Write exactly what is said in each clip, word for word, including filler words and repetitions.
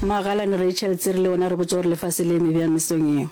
Magalane Rachel Tsiri le wena re botše gore lefase le eme bjang mesong ye.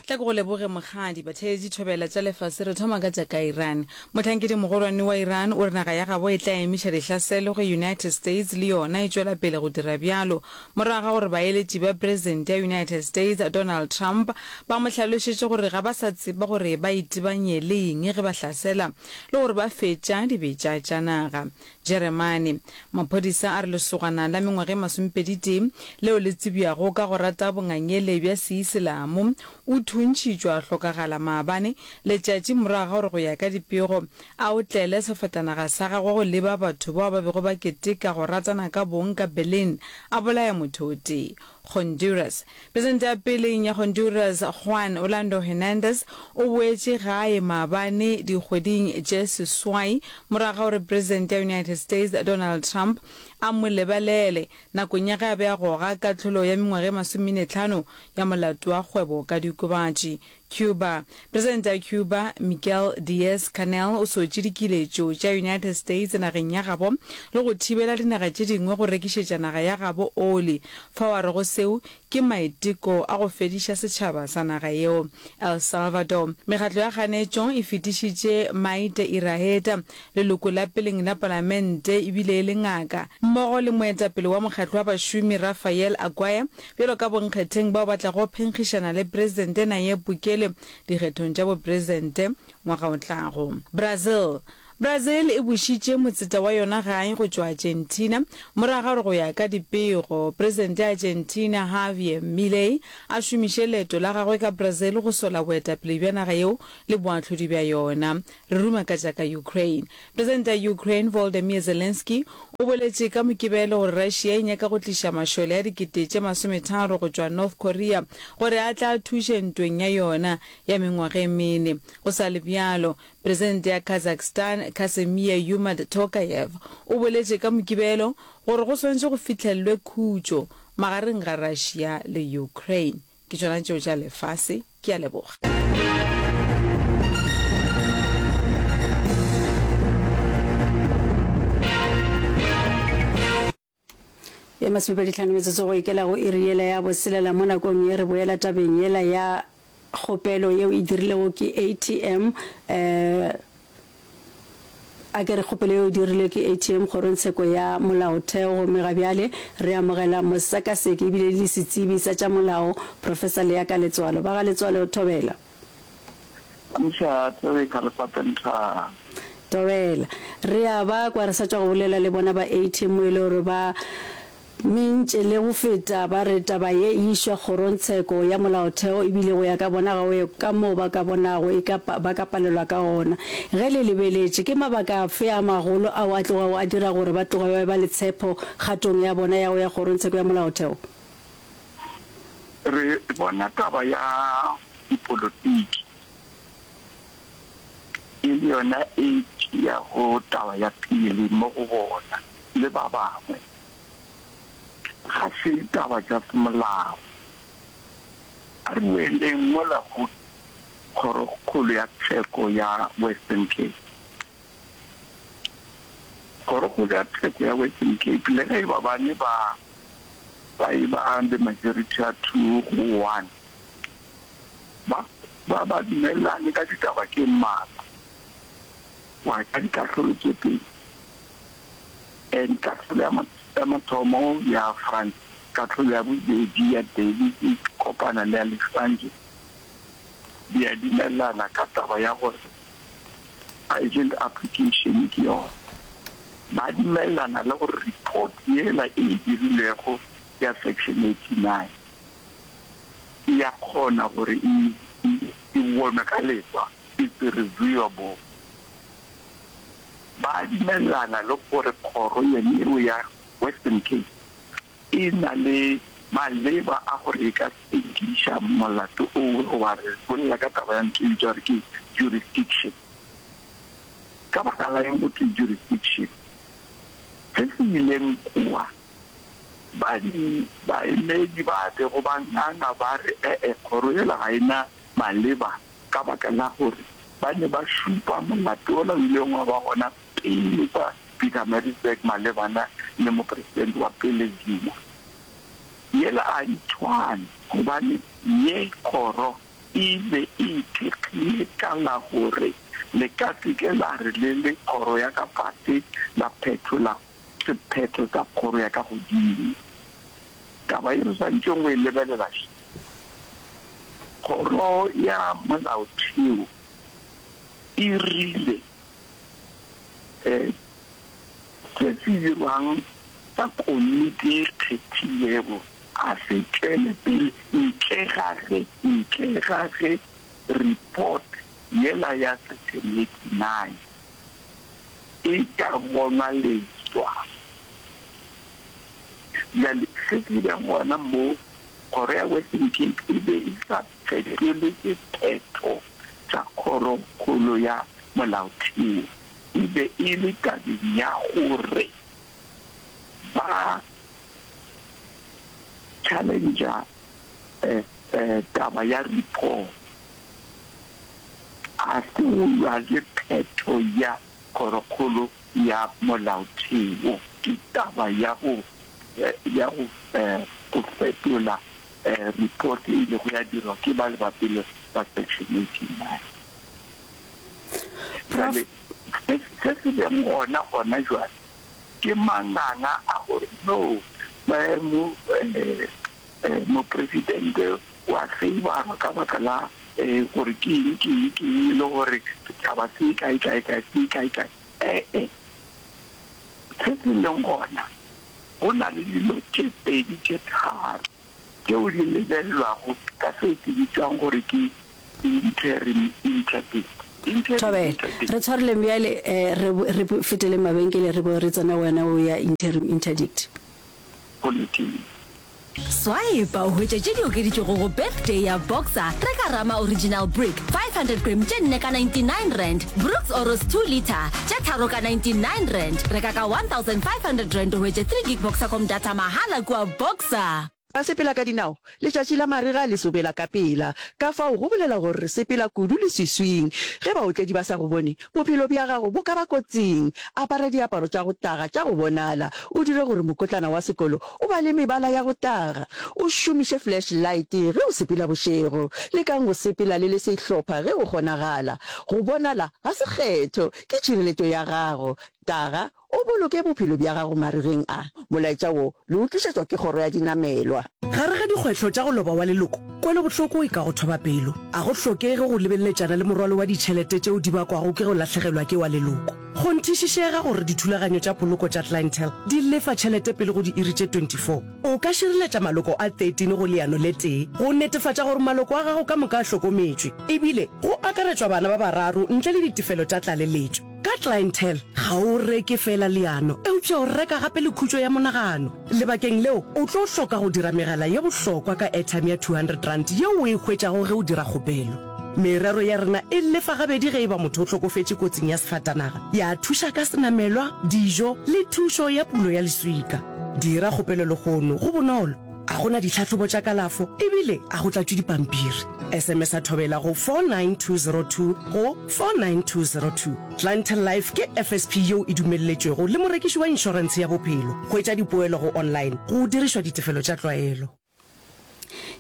Tla ke go leboge Mokgadi. Batheeletši thobela tša lefase re thoma ka tša ka Iran. Mohlankedi mogolwane wa Iran o re naga ya gabo e tla emiša dihlaselo ge United States le yona e tšwela pele go dira bjalo morago ga gore baeletši ba Presidente ya United States Donald Trump ba mo hlalošetše gore ga ba sa tseba gore ba itebanye le eng ge ba hlasela le gore ba fetša dibetša tša naga. Jeremane. Maphodisa a re lesogana la mengwaga e masomepedi-tee leo le tsebjago ka go rata bongangele bja Seiselamo o thuntšhitšwe a hlokagala maabane letšatši morago ga gore go ya ka dipego a otlele sefatanaga sa gagwe go leba batho bao ba bego ba keteka go ratana ka bong ka Berlin a bolaya motho o tee. Honduras. Presidente ya peleng ya Honduras Juan Orlando Hernández o boetše gae maabane dikgweding tše seswai morago ga gore Presidente ya United States Donald Trump a mo lebalele nakong ya ge a be a goga kahlolo ya mengwaga e masomenetlhano ya molato wa kgwebo ka diokobatši. Cuba. Presidente ya Cuba Miguel Diaz-Canel o sotše dikiletšo tša United States nageng ya gabo le go thibela dinaga tše dingwe go rekišetša naga ya gabo oli, fao a rego seo ke maiteko a go fediša setšhaba sa naga yeo. El Salvador. Mekgatlo ya kganetšo e fetišitše Maite Iraheta, leloko la peleng la palamente ebile e le ngaka, mmogo le moetapele wa mokgatlo wa bašomi Rafael Aguirre bjalo ka bonkgetheng bao ba tlago phenkgišana le Presidente Nayib Bukele dikgethong tša bopresidente ngwaga o tlago. Brazil. Brazil e bušitše motseta wa yona gae go tšwa Argentina morago ga gore go ya ka dipego Presidente ya Argentina Javier Milei a šomiše leeto la gagwe ka Brazil go sola boetapele bja naga yeo le boahlodi bja yona. Re ruma ka tša ka Ukraine. Presidente ya Ukraine Volodymyr Zelensky o boletše ka Mokibelo gore Russia e nyaka go tliša mašole a dikete tše masometharo go tšwa North Korea gore a tla thuše ntweng ya yona ya mengwaga e mene. Go sa le bjalo, Presidente ya Kazakhstan Kassym-Jomart Tokayev o boletše ka Mokibelo gore go swanetše go fihlellwe khutšo magareng ga Russia le Ukraine. Ke tšona tšeo tša lefase. Ke a leboga. Ye masomepedi hlano metsotso go ikela go iri yela ya boselela mo nakong ye re boela tabeng yela ya kgopelo yeo e dirilego ke A T M eh A ke re kgopelo yeo e dirilwe ke A T M Kgorongtsheko ya Molaotheo gomme ga bjale re amogela mosekaseki ebile le setsebi sa tša molao Professor Leaka Letsoalo. Ba ga Letsoalo, thobela. Ntšha tsebe ka lepapenthara. Thobela. Re a ba kwa re sa tšwa go bolela le bona ba A T M mo e le gore ba mentše le go feta ba re taba ye e išwa kgorongtsheko ya molaotheo ebile go ya ka bona ga o ye ka moo ba ka bonago e ka ba ka palelwa ka gona. Ge le lebeletše, ke mabaka afe a magolo ao a tlogago a dira gore ba tloge ba eba le tshepo kgatong ya bona ya go ya kgorongtsheko ya molaotheo? Re bona taba ya dipolotiki e le yona e tšeago taba ya pele mo go bona le ba bangwe. Ga se taba tša semolao. A re boeleng mola go Kgorokgolo ya Tsheko ya Western Cape. Kgorokgolo ya Tsheko ya Western Cape, le ge e ba ba ne ba ba e ba le majority ya two go one, ba ba ba dumelelane ka ditaba tše mmalwa, wa ka dikahlolo tše pedi. And kahlolo ya ya mathomo ya France, kahlolo ya bobedi ya Davis e kopana le ya Alexandre, di a dumelelana ka taba ya gore urgent application ke yona. Ba dumelelana le gore report yela e e dirilwego ya section eighty-nine e ya kgona gore e e bonwe ka leswa, it's reviewable. Ba dumelelana le gore kgoro yene yeo ya Western Cape e na le maleba a gore e ka sekiša molato owe goba re bolela ka taba ya ntho e bitšwa gore ke jurisdiction. Ka baka la eng go thwe jurisdiction? Se se ileng kua, ba di baemedi ba bego ba nganga ba re e-e kgoro yela ga e na maleba ka baka la gore Ba ne ba šupa molato wola o ileng wa ba gona pele kwa Pietermaritzburg malebana le mopresidente wa pele Zuma. Yela a e tshwane gobane ye kgoro e be e ithekgile ka la gore le ka se ke la re le le kgoro ya ka fase la phethola sephetho sa kgoro ya ka godimo. Taba ye re swanetšeng go e lebelela še, Kgoro ya Molaotheo e rile se se dirwang sa komiti e kgethilwego a se tšwele pele ntle ga ge ntle ga ge report yela ya Section eighty nine e ka bonwa leswa. Bjale se se beng gona mo, kgoro ya Western Cape e be e sa fetole sephetho sa Kgorokgolo ya Molaotheo, e be e le tabeng ya gore ba challenger taba ya report, a se go lwa le phetho ya Kgorokgolo ya Molaotheo. Ke taba ya go ya go go fetola report e ilego ya dirwa ke bale ba pele ba Section eighty nine. Bjale se se se leng gona gona jwale ke manganga a gore no mopresidente wa feibarwa ka baka la gore ke eng ke eng ke eng e le gore setšhaba se kae kae kae se kae kae. E-e, se se leng gona go na le dilo tše pedi tše tharo tšeo di lebelelwago ka seo se bitšwang gore ke interim interdict. Interim Thobela, interdict. re tshwareleng bjale, re, re feteleng mabenkele re bo re tsena go wena o ya interim interdict. Politiki. Swipe o hwetše tše di okeditšwego go Birthday ya Boxer. Reka Rama Original Brick five hundred gram tše nne ka ninety nine rand, Brooks Oros two litre tše tharo ka ninety nine rand. Reka ka one thousand five hundred rand o hwetše three gig Boxercom data mahala kua Boxer. Ba sepela ka dinao. Letšatši la marega le sobela ka pela. Ka fao go bolela gore re sepela kudu leswiswing. Ge baotledi ba sa go bone, bophelo bja gago bo ka ba kotsing. Apara diaparo tša go taga tša go bonala, o dire gore mokotlana wa sekolo o ba le mebala ya go taga. O šomiše flashlight ge o sepela bošego. Lekang go sepela le le sehlopha ge go kgonagala. Go bonala ga se kgetho, ke tšhireletšo ya gago. Taga, o boloke bophelo bja gago marigeng a. Molaetša wo le o tlišetšwa ke Kgoro ya Dinamelwa. Gare ga dikgwehlo tša go loba wa leloko, kwelobohloko e ka go thoba pelo. A go hlokege go lebeleletšana le morwalo wa ditšhelete tšeo di bakwago ke go lahlegelwa ke wa leloko. Kgonthišišega gore dithulaganyo tša poloko tša Clientele di lefa tšhelete pele go diiri tše twenty four. O ka šireletša maloko a thirteen go leano le tee go netefatša gore maloko a gago ka moka a hlokometšwe, ebile go akaretšwa bana ba bararo ntle le ditefelo tša tlaleletšo. Ka Clientele, ga o reke feela leano, eupša o reka gape le khutšo ya monagano. Lebakeng leo, o tlo hloka go dira megala ye bohlokwa ka airtime ya two hundred rand yeo o e hwetšago ge o dira kgopelo. Merero ya rena e lefa gabedi ge e ba motho o hlokofetše kotsing ya sefatanaga, ya thuša ka senamelwa, dijo le thušo ya pulo ya leswika. Dira kgopelo lehono, go bonolo, ga go na ditlhahlobo tša kalafo ebile a go tlatšwe dipampiri. S M S a Thobela go four nine two zero two go four nine two zero two. Clientele Life ke F S P yeo e dumelletšwego le morekiši wa inšorentshe ya bophelo. Hwetša dipoelo go online go dirišwa ditefelo tša tlwaelo.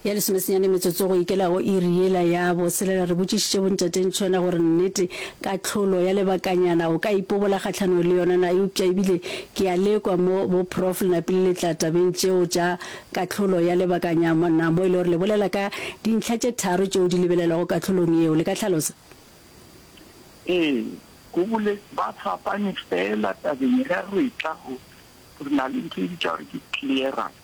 Ya lesomesenyane metsotso go ikela go iri yela ya boselela, re botšišitše bontate Ntšhona gore nnete kahlolo ya lebakanyana o ka ipobola kgahlanong le yona na, eupša ebile ke a lekwa mo bo Prof le napile le tla tabeng tšeo tša kahlolo ya lebakanyana mo e le gore le bolela ka dintlha tše tharo tšeo di lebelelwago kahlolong yeo. Le ka hlalosa? Ee, go bole ba fapane fela tabeng ge re tla go re na le ntho e bitša gore ke clearance.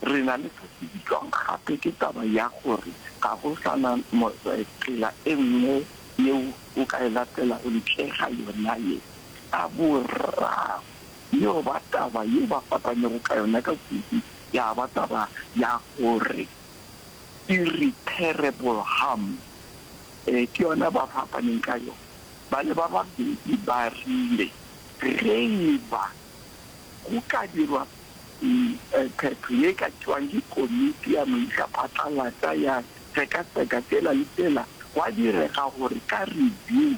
Re na le se se bitšwang gape ke taba ya gore ga go sa na tsela e nngwe yeo o ka e latelago ntle ga yona ye. Ka boraro, yeo ba taba ye ba fapanego ka yona ka kudu ya ba taba ya gore irreparable harm, ke yona ba fapaneng ka yona. Ba le ba babedi ba rile ge e ba go ka dirwa phetho ye ka tšewang ke komiti ya moišaphatlalatša ya sekaseka tsela le tsela gwa direga gore ka review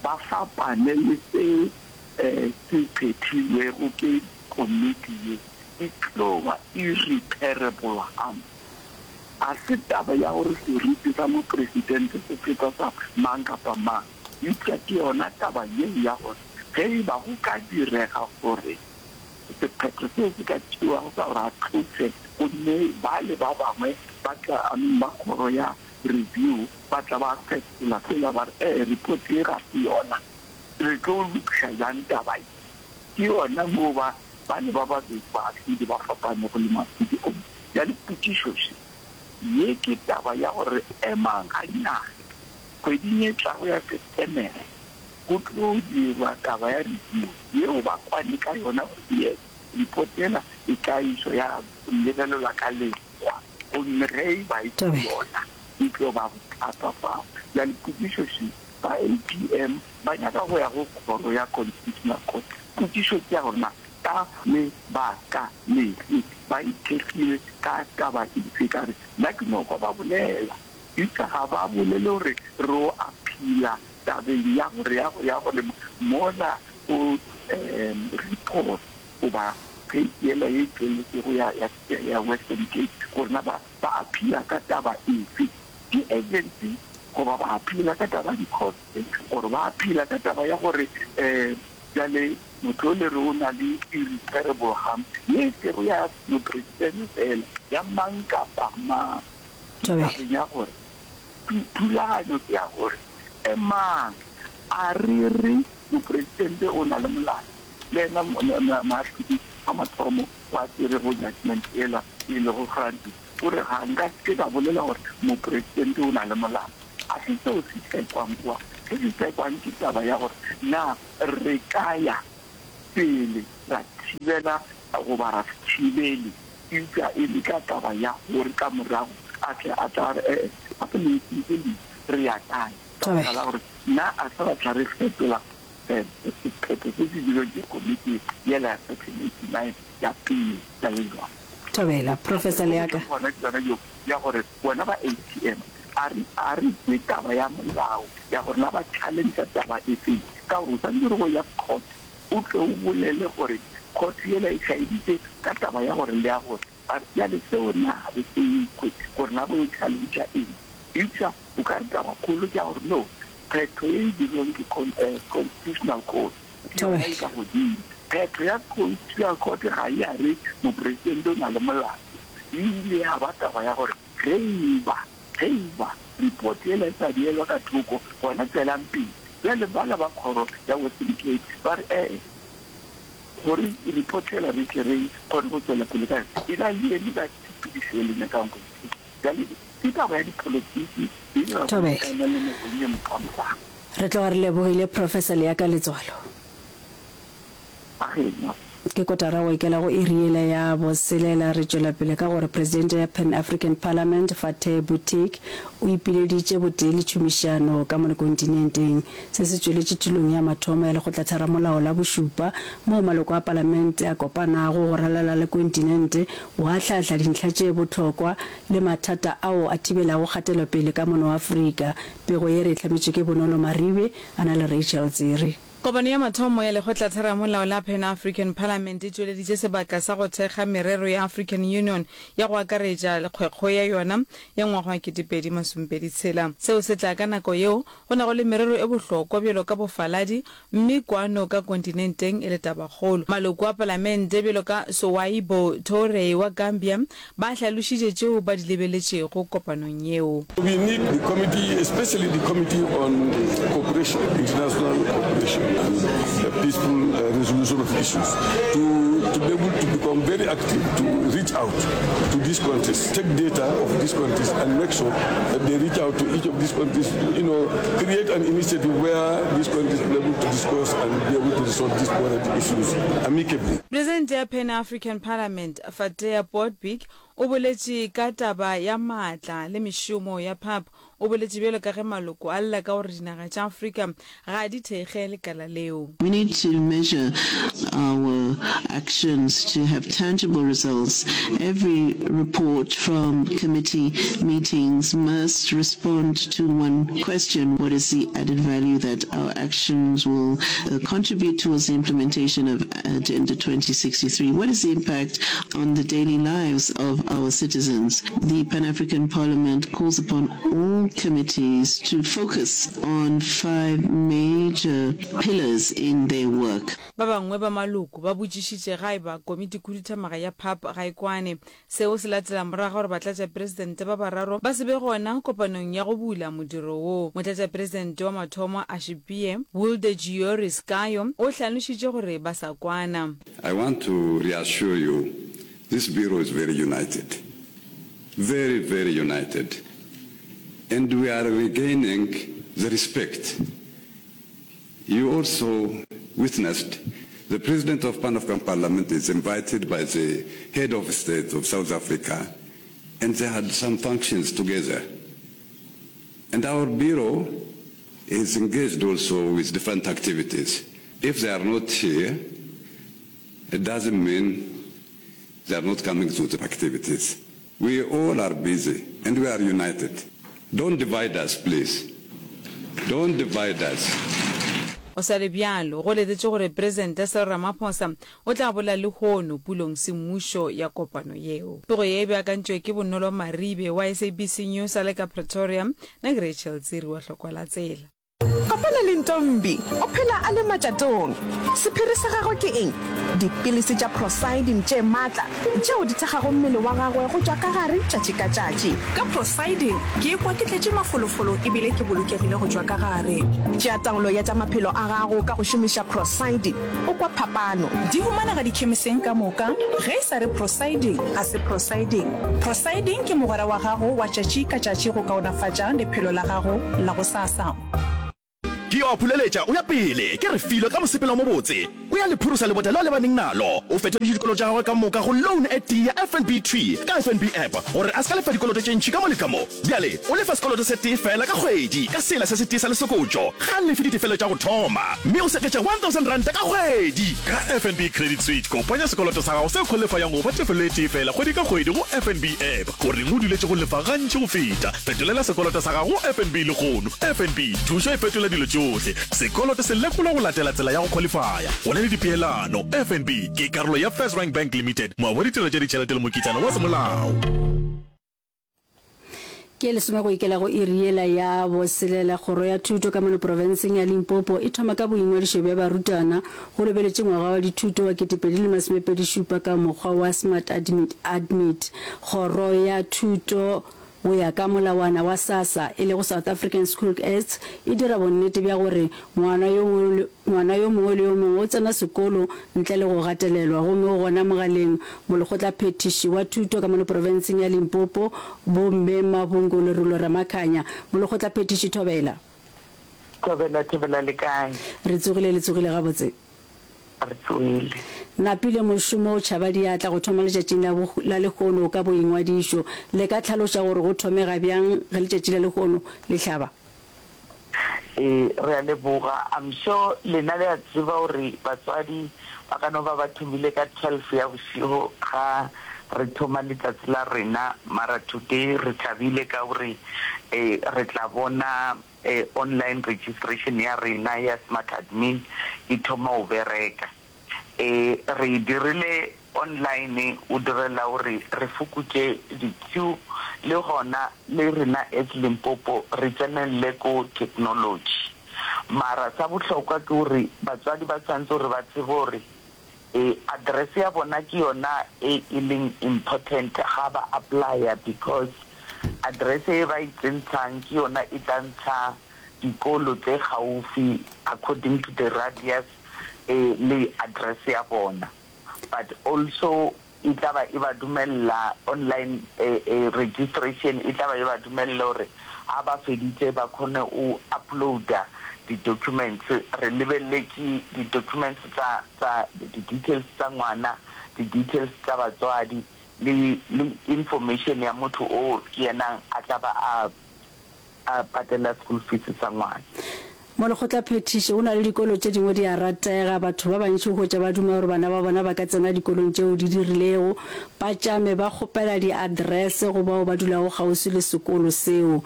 ba fapane le se se phethilwego ke komiti ye, e tlo ba irreparable harm. Ga se taba ya gore seriti sa mopresidente se feta sa mang kapa mang, eupša ke yona taba yeo ya gore ge e ba go ka direga gore sephetho seo se ka tšewago sa gore a tlošwe gomme bale ba bangwe ba tla, I mean, ba kgoro ya review ba tla ba fetola sela ba re, Ee, report ye ga se yona. Re tlo lokiša bjang taba ye? Ke yona moo ba, bale ba babedi baahlodi ba fapanego le moahlodi o mongwe. Bjale potšišo še, Ye ke taba ya gore emang gannyane. Kgweding e tlago ya Setemere go tlo dirwa taba ya review yeo ba kwane ka yona gore yes, report yela e tla išwa ya lebelelwa ka leswa gomme ge e ba e se yona e tlo ba bothata fao. Bjale potšišo še, ba A P M ba nyaka go ya go kgoro ya Constitutional Court. Potšišo ke ya gore na ka lebaka lefe ba ithekgile ka taba efe? Ka re nna ke no kwa ba bolela, eupša ga ba bolele gore re o appeala tabeng ya gore ya go ya gore mola go um report goba case yela ye tšweletšego ya ya ya Western Cape gore na ba ba appeala ka taba efe, ke agency goba ba appeala ka taba ya di-court gore ba appeala ka taba ya gore um bjale motho o le re o na le irreparable harm ye e sego ya mopresidente fela, ya mang kapa mang. Tabeng ya gore thulaganyo ke ya gore emang, a re re mopresidente o na le molato, le yena moahlodi wa mathomo wa tšerego judgment yela e lego Francis o re ga nka se ke ka bolela gore mopresidente o na le molato. A se seo se tsekwang kua. Se se tsekwang ke taba ya gore na re ka ya pele ra thibela goba ra se thibele, eupša e le ka taba ya gore ka morago a tle a tla re ee gape le ntšhitše le re ya kae, ka baka la gore na a se ra tla re fetola sephetho se se dirilweng ke komiti yela ya section eighty nine ya pele ya le jwang. Thobela, Professor Leaka. Gona ke yona yeo ya gore bona ba A T M a re a re kwe taba ya molao ya gore na ba challenge taba efeng, ka gore o swanetše go ya court o tle o bolele gore court yela e šaeditše ka taba ya gore le ya gore bjale seo na ga re se kwe gore na bo challenge eng. Eupša o ka re taba kgolo ke ya gore no, phetho ye e dirilweng ke Constitutional Court ke yona e ka godimo. Phetho ya Constitutional Court ga e a re mopresidente o na le molato, e ile ya ba taba ya gore ge e ba ge e ba report yela e sa beelwa ka thoko, gona tswelang pele. Bjale bala ba kgoro ya Western Cape ba re ee, gore report yela re tle re kgone go tswela pele ka yona, e na le eme ka tshepedišo e le nyakang go e bjale ke taba ya dipolotiki e dira Thobela. le nakong ye mokamorago. Re tloga re lebogile, Professor Leaka Letswalo. Agena. Ke kotara go ikela go iri yela ya boselela. Re tšwela pele ka gore presidente ya Pan African Parliament Fateh Boutique o ipileditše botee le tšhomišano ka mo kontinenteng. Se se tšweletše tulong ya mathomo ya lekgotlatheramolao la bošupa moo maloko a palamente a kopanago go ralala le kontinente go ahlahla dintlha tše bohlokwa le mathata ao a thibelago kgatelopele ka mono Afrika. Pego ye re e hlametšwe ke Bonolo Maribe a na le Rachel Tsiri. Kopano ya mathomo ya lekgotlatheramolao la Pan African Parliament e tšweleditše sebaka sa go thekga merero ya African Union ya go akaretša kgwekgwe ya yona ya ngwaga wa ketepedi masomepedi tshela. Seo se tla ka nako yeo go nago le merero e bohlokwa bjalo ka bofaladi mme kwano ka kontinenteng e le tabakgolo. Maloko a palamente bjalo ka Souaibou Touray wa Gambia ba hlalošitše tšeo ba di lebeletšego kopanong yeo. We need the committee, especially the committee on cooperation, international cooperation and the peaceful uh, resolution of issues, to, to be able to become very active, to reach out to these countries, take data of these countries and make sure that they reach out to each of these countries, you know, create an initiative where these countries will be able to discuss and be able to resolve these border issues amicably. Presidente ya Pan African Parliament Fatea Potbig o boletše ka taba ya maatla le mešomo ya P A P. O boletše bjalo ka ge maloko a lla ka gore dinaga tša Afrika ga di thekge lekala leo. We need to measure our actions to have tangible results. Every report from committee meetings must respond to one question, what is the added value that our actions will contribute towards the implementation of Agenda twenty sixty-three? What is the impact on the daily lives of our citizens? The Pan-African Parliament calls upon all committees to focus on five major pillars in their work. Ba bangwe ba maloko ba botšišitše ga eba komitikhuduthamaga ya P A P ga e kwane. Seo se latela morago ga gore batlatšapresidente ba bararo ba se be gona kopanong ya go bula modiro wo. Motlatšapresidente wa mathomo Ashipie Woldegiorgis Kayo o hlalošitše gore ba sa kwana. I want to reassure you, this bureau is very united, very, very united, and we are regaining the respect. You also witnessed the President of Pan-African Parliament is invited by the head of state of South Africa, and they had some functions together. And our bureau is engaged also with different activities. If they are not here, it doesn't mean they are not coming to the activities. We all are busy and we are united. Don't divide us, please. Don't divide us. Go sa le bjalo, go letetšwe gore Presidente Cyril Ramaphosa o tla bolela lehono pulong semmušo ya kopano yeo. Pego ye e beakantšwe ke Bonolo Maribe wa S A B C News a le ka Pretoria, nna ke Rachel Tsiri wa Hlokwa la Tsela. Kopana le Ntombi, o phela a le matšatong. Sephiri sa gagwe ke eng? Dipilisi tša Procyldin tše matla tšeo di thekgago mmele wa gagwe go tšwa ka gare tšatši ka tšatši. Ka Procyldin, ke ikwa ke tletše mafolofolo e bile ke bolokegile go tšwa ka gare. Tšea taolo ya tša maphelo a gago ka go šomiša Procyldin, o kwa phapano. Di humanega dikhemiseng ka moka. Ge e sa re Procyldin, ga se Procyldin. Procyldin ke mogwera wa gago wa tšatši ka tšatši go kaonafatša lephelo la gago la gosasa. Ke yo a phuleletša o ya pele, ke Refilwe ka mosepelo o mobotse. O ya le phurusa lebota leo a lebaneng nalo. O fetoditše dikoloto tša gagwe ka moka go loan e tee ya F N B Tree ka F N B App gore a se ka lefa dikoloto tše ntši ka mo le ka mo. Bjale o lefa sekoloto se tee feela ka kgwedi ka sela se setee sa lesokotšo. Ga a lefe ditefelo tša go thoma mme o seketša one thousand ranta ka kgwedi. Ka F N B Credit Switch, kopanya sekoloto sa gago se khwalifayang go ba tefelo e tee feela kgwedi ka kgwedi go F N B App. Goreng o duletše go lefa gantši go feta? Fetolela sekoloto sa gago go F N B lehono. F N B, thušo e fetola dilo tšohle. Sekoloto se lekolwa go latela tsela ya go khwalifaya. Go na le dipeelano. F N B ke karolo ya FirstRand Bank Limited, moabi wa ditirelo tša ditšhelete le mokitlana wa semolao. Ke lesome go ikela go iri yela ya boselela, Kgoro ya Thuto ka mono profenseng ya Limpopo e thoma ka boingwadišo bja barutwana go lebeletše ngwaga wa dithuto wa ketepedi le masomepedi šupa ka mokgwa wa Smart Admit, Admit. Kgoro ya Thuto go ya ka molawana wa SASSA, e lego South African School Act, e dira bonnete bja gore ngwana yo ngwana yo mongwe le yo mongwe o tsena sekolo ntle le go gatelelwa gomme o gona mogaleng Molekgotlaphethiši wa Thuto ka mono profenseng ya Limpopo, Bo Mme Mabungo Lerulo Ramakhanya. Molekgotlaphethiši Thobela. Thobela, Thobela le kae? Re tsogile, le tsogile gabotse? Re tsogile. Napile mošomo o tšhaba diatla go thoma letšatšing la la lehono ka boingwadišo. Le ka hlaloša gore go thomega bjang ge letšatši la lehono le hlaba? Ee, re a leboga. I'm sure lena le a tseba gore batswadi ba ka no ba ba thomile ka twelve ya bošego ga re thoma letsatsi la rena, mara today re thabile ka gore re tla bona online registration ya rena ya Smart Admin e thoma go bereka. Re e dirile online o direla gore re fokotše di-queue le gona le rena as Limpopo re tsenelele ko technology. Mara sa bohlokwa ke gore batswadi ba tshwanetse gore ba tsebe gore address ya bona ke yona e e leng important ga ba apply-a because address e ba e tsentshang ke yona e tla ntsha dikolo tse gaufi according to the radius le address ya bona. But also e tla ba e ba dumella online registration e tla ba e ba dumella gore ha ba feditse ba kgone o uploada di-documents. Re lebeletše di-documents tsa, tsa di-details tsa ngwana, di-details tsa batswadi le, le information ya motho o ke yena a tla ba a, a patela school fees sa ngwana. Molekgotlaphethiši, Go na le dikolo tše dingwe di a ratega. Batho ba bantši o hwetša ba duma gore bana ba bona ba ka tsena dikolong tšeo di di rilego. Ba tšame ba kgopela diaddress go bao ba dulago kgauswi le sekolo seo.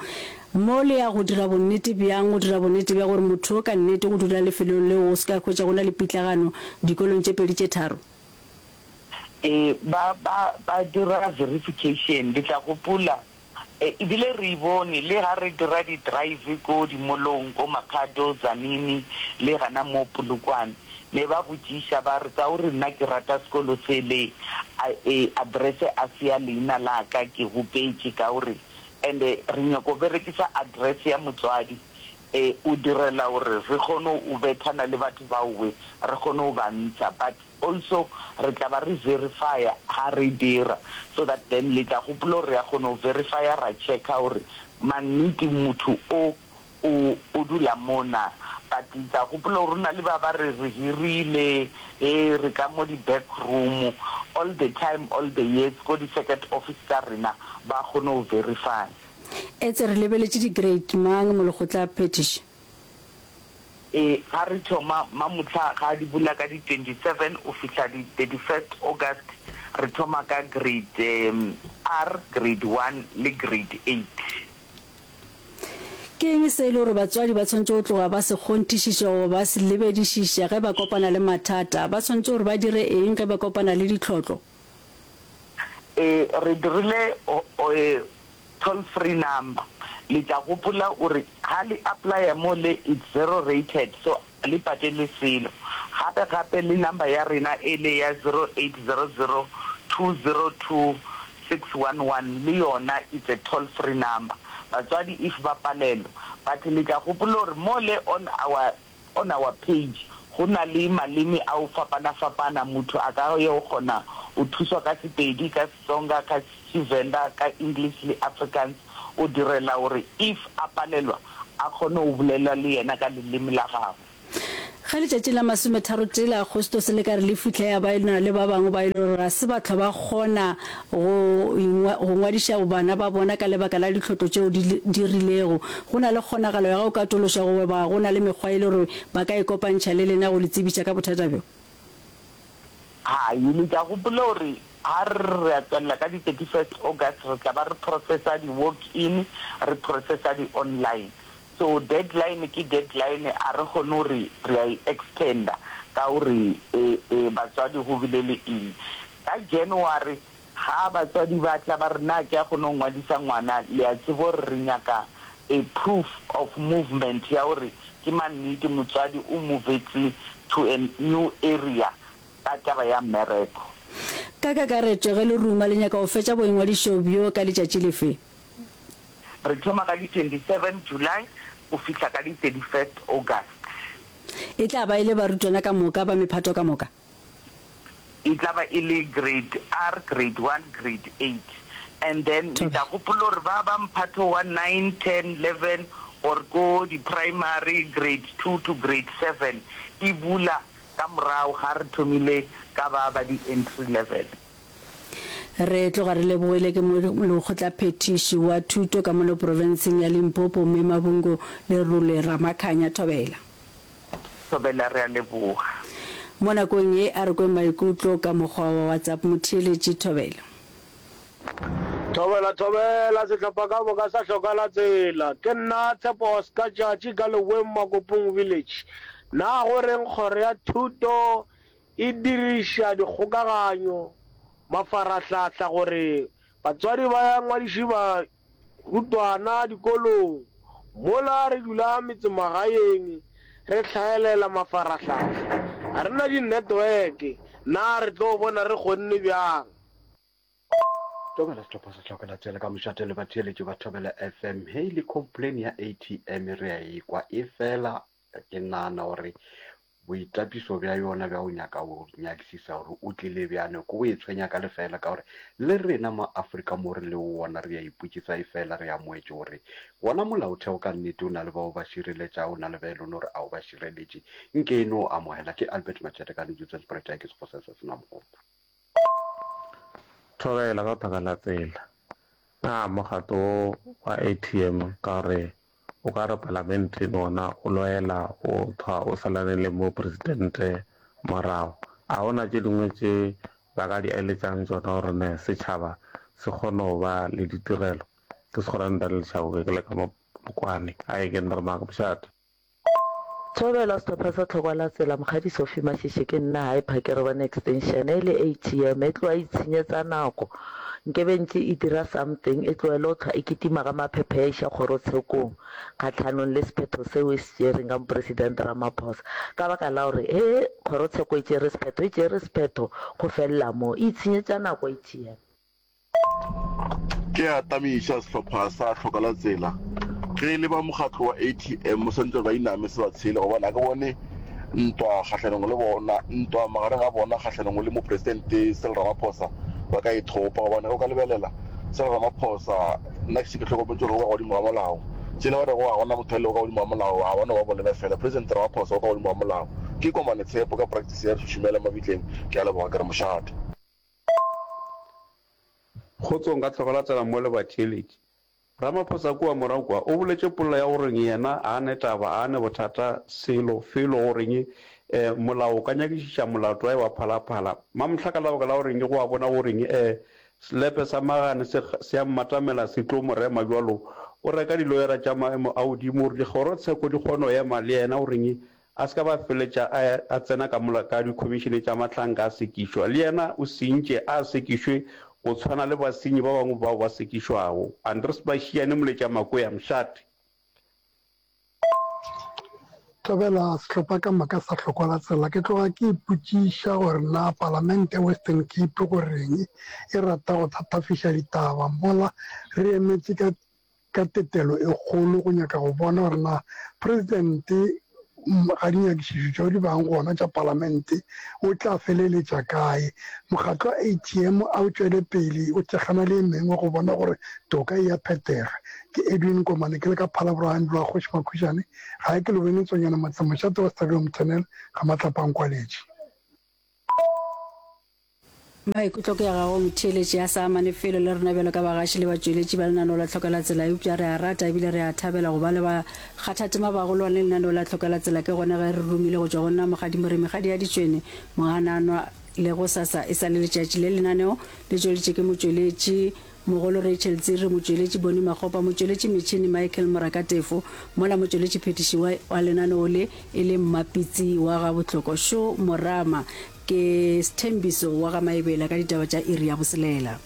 Mo le ya go dira bonnete bjang, go dira bonnete bja gore motho yo ka nnete go dula lefelong leo go se ka hwetša go na le pitlagano dikolong tše pedi tše tharo? Ee, ba, ba, ba dira verification. Le tla gopola, e, ebile re e bone le ga re dira di-drive ko di-mall-ong, ko Makhado, Tzaneen, le gana mo Polokwane. Ne ba botšiša ba re, Ka gore nna ke rata sekolo se le, a, e, address a se ya leina la ka, ke gopetše ka gore, and-e re nyako berekisa address ya motswadi, e, o direla gore re kgone o bethana le batho baowe, re kgone o ba ntsha. But Also re tla ba re verifya ha re dira so that then le tla gopola gore re a kgona go verifya ra checka gore mannete motho o o o dula mo na. But le tla gopola gore go na le ba ba re re hirile he re ka mo di back room all the time all the years ko di circuit office tsa rena ba kgone go verifya. Etse re lebeletše di grade mang molekgotla phethiši? Ee, ga re thoma mamohla ga di bula ka di twenty seven o fihla di thirty first August re thoma ka grade R, grade one le grade eight. Ke eng se e le gore batswadi ba tshwanetše go tloga ba se kgonthišiša goba ba se lebedišiša ge ba kopana le mathata? Ba tshwanetše gore ba dire eng ge ba kopana le ditlhotlo? Ee, re dirile toll free number. Le tla gopola gore ga le applya mo le it's zero rated so a le patele selo. Gape gape le number ya rena ele ya zero eight zero zero two zero two six one one le yona it's a toll free number. Batswadi if ba palelwa but le tla gopola gore mo le on our On our page go na le maleme a o fapana fapana motho a ka yo kgona o thuswa ka Sepedi, ka Setsonga, ka Tshivenda, ka English le Afrikaans o direla gore if a palelwa a kgone o bolela le yena ka leleme la gabo. Ge letšatši la masometharotee la Agostose le ka re le fihla ya ba e na le ba bangwe ba e le gore ga se ba hlwa ba kgona go go ngwadiša bana ba bona ka lebaka la ditlhotlo tšeo di di rilego. Go na le kgonagalo ya go katološa goba go na le mekgwa e le gore ba ka ikopantšha le lena go le tsebiša ka bothata bjo? Hai, le tla gopola gore ga re re re a tswelela ka di thirty first August re tla ba re processa di walk in, re processa di online. So deadline ke deadline a re kgone gore re a e extender ka gore batswadi go bile le eng. Ka January ga batswadi ba tla ba re na ke a kgone go ngwadisa ngwana le a tseba gore re nyaka a proof of movement ya gore ke mannete motswadi o movetse to a new area ka taba ya mmereko. Ka kakaretšo ge le ruma le nyaka go fetša boingwadišo bjo ka letšatši lefe? Re thoma ka di twenty seven July go fihla ka di thirty first August. E tla ba e le barutwana ka moka ba mephato ka moka? E tla ba e le grade R, grade one, grade eight and then le tla gopola gore ba ba mphato wa nine, ten, eleven or ko di primary grade two to grade seven e bula ka morago ga re thomile ka ba ba di entry level. Re tloga re lebogile ke Molekgotlaphethiši wa Thuto ka mono profenseng ya Limpopo, Mme Mabungo Lerole Ramakhanya. Thobela. Thobela, re a leboga. Mo nakong ye a re kweng maikutlo ka mokgwa wa WhatsApp. Motheeletši, Thobela. Thobela, thobela, sehlopha ka moka sa hloka la tsela. Ke nna Tshepo Oscar Tšatši ka Leweng Makopong Village. Na go reng kgoro ya thuto e diriša dikgokaganyo, mafarahlahla gore batswadi ba ngwadiše barutwana dikolong, mola re dula metsemagaeng re hlaelela mafarahlahla, ga re na di-network, na re tlo bona re kgonne bjang? Thobela sehlopha sa Hlokela Tsela ka mošate le batheeletši ba Thobela F M. Hei le complain ya A T M re a e kwa, efela ke nagana gore Boitapišo bja yona bja go nyaka go nyakišiša gore o tlile bjang ke go itshwenya ka lefeela ka gore le rena mo Afrika mo re lego gona re a ipotšiša efela re amoetše gore gona molaotheo ka nnete o na le bao ba šireletšago o na le ba e lego gore a o ba šireletše nke e no amogela ke Albert Machete ka Newsspruit ke Sekgosa se se na mogopo. Thobela ka thaka la tsela. Na mokgatlo wo wa A T M ka gore O ka re palamenteng wona o loela o thwa o salane le mopresidente morago. A go na tše dingwe tše ba ka di eletšang tšona gore ne setšhaba se kgone go ba le ditirelo? Ke Sekgorane Daniel Chauke ke le ka mo Polokwane. A e ke nna re maaka mošate. Thobela sehlopha sa Tlhokwa la Tsela Mokgadi Sophie Mashishi ke nna hae Phakere bone extension e le A T M e tloga e itshenyetsa nako nkebe ntše e dira something e tlohele go hlwa e kitima ga maphephe ya iša kgorotshekong kgahlanong le sephetho seo e se tšereng ka Mopresidente Ramaphosa ka baka la gore he kgorotsheko e tšere sephetho e tšere sephetho go felela moo e itshenyetša nako A T M. Ke a tamiša sehlopha sa Hloka la Tsela. Ge e le ba mokgatlo wa A T M swantše gore ba iname se ba tshele gobane ga ke bone ntwa kgahlanong le bona, ntwa magareng ga bona kgahlanong le Mopresidente Cyril Ramaphosa ba ka e thopa gobane ge o ka lebelela Cyril Ramaphosa nna ke šetše ke hlokometše gore o ka godimo ga molao. Tšela ba rego ga gona motho a lego ka godimo ga molao ga ba no ba bolela fela. President Ramaphosa o ka godimo ga molao. Ke Komane Tshepo ka practice ya Šušumela Mabitleng. Ke a leboga ke re mošate. Kgotsong ka tlogela tsela mo le batheeletši. Ramaphosa kua morago kua o boletše polelo ya goreng yena a ne taba a ne bothata selo felo goreng eh molao o ka nyakišiša molato wae wa Phalaphala. Mamohla ka lebaka la goreng go a bona goreng eh selepe sa magane se se a mmatamela se tlo mo rema bjalo o reka diloyara tša maemo a godimo gore dikgorotsheko di kgone go ema le yena goreng A se ka ba feletša a a tsena ka mola ka dikhomišene tša mahlanka a sekišwa. Le yena o sentše, a sekišwe go tshwana le basenyi ba bangwe bao ba sekišwago. Andries Mashiane Moletša Makoya, Mšate. Thobela sehlopha ka moka sa Hlokwa la Tsela. Ke tloga ke ipotšiša gore na Palamente ya Western Cape goreng e rata go thatafiša ditaba mola re emetše ka ka tetelo e kgolo go nyaka go bona gore na Presidente ga dinyakišišo tšeo di bang gona tša Palamente o tla feleletša kae. Mokgatlo wa A T M a o tšwele pele o thekgana le e mengwe go bona gore toka e a phethega. Ke Edwin Komane ke le ka Phalaborwa Andrew wa Kgoši Makhušane gae ke Lobene Tsonyana Motse mošate wa Stadium Tunnel ga Matlapa a Nkwaletše. Maikutlo ke a gago motheeletši a sa amane felo le rena bjalo ka bagaši le batšweletši ba lenaneo la Tlhoka la Tsela eupša re a rata ebile re a thabela go ba le bakgathatema bagolwane lenaneo la Tlhoka la Tsela ke gona ge re romile go tšwa go nna Mokgadi Moremi Kgadi ya Ditšwene Mohananwa le gosasa e sa le letšatši le lenaneo le tšweleditše ke motšweletši mogolo Rachel Tsiri, motšweletši Bonnie Makgopa, motšweletši metšhini Michael Morakatefo, mola motšweletši phethiši wa wa lenaneo le e le Mmapitsi wa ga Bohloko Sho Morama. Ke Sthembiso wa ga Maebela ka ditaba tša iri ya boselela.